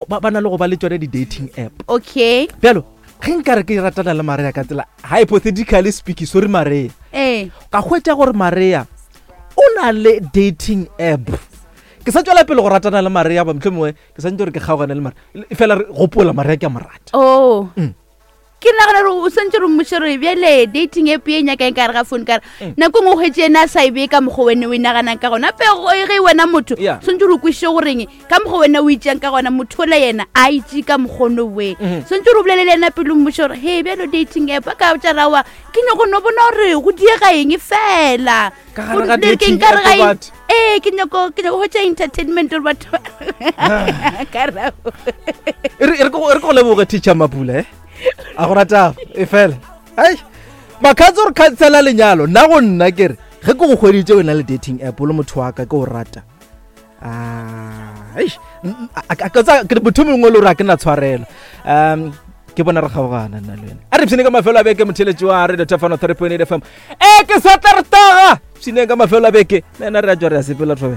ba ba na le go ba le tsone di-dating app okay bjalo ge nka re ke ratana le maria ka tsela hypothetically speaking sorry maria ee ka hwetša gore maria o na le dating app ke sa tswela pele go ratana le maria ba motlho mongwe ke santse gore ke kgaogane le maria fela re gopola maria ke a mo rata oh Mm. ke nagana gore o swantse re mmotse gore bjale dating app e nyakang ka gare ga phone kare Mm. nako nngwe o hwetse ena a sa e bee ka mokgwa wene o e naganang ka gona ape ge wena motho Yeah. swantse re o kwešiše goreng ka mokgwa wena o itseng ka gona motho ola yena a itse ka mokgono we Mhm. swantse re o bolele le ena pele o mmotse gore he bjalo dating app a ka tša rawa ke nyako no bona gore go diega eng fela Ka gare ga Gore ke dating nkare app ga e- batho. ee ke nyako ke nyako hwetša entertainment gore batho ba- ka rao E re e re ke go e re ke go leboge teacher mapula e a go rata e fela ai makgatse gore khansela lenyalo nna go nna ke re ge ke go hweditse o na le dating app o le motho wa ka ke o rata Ah, eish, n- n- a- a- ka tsa- ke re motho mongwe le gore a ke na tshwarelo um ke bona re kgaogana nna le wena a re pshine ka mafelo a beke motheletši wa radio tafano 3.8 fm e ke sa tla re taga pshineng ka mafelo a beke le ena re a tswa re a sepela thobe.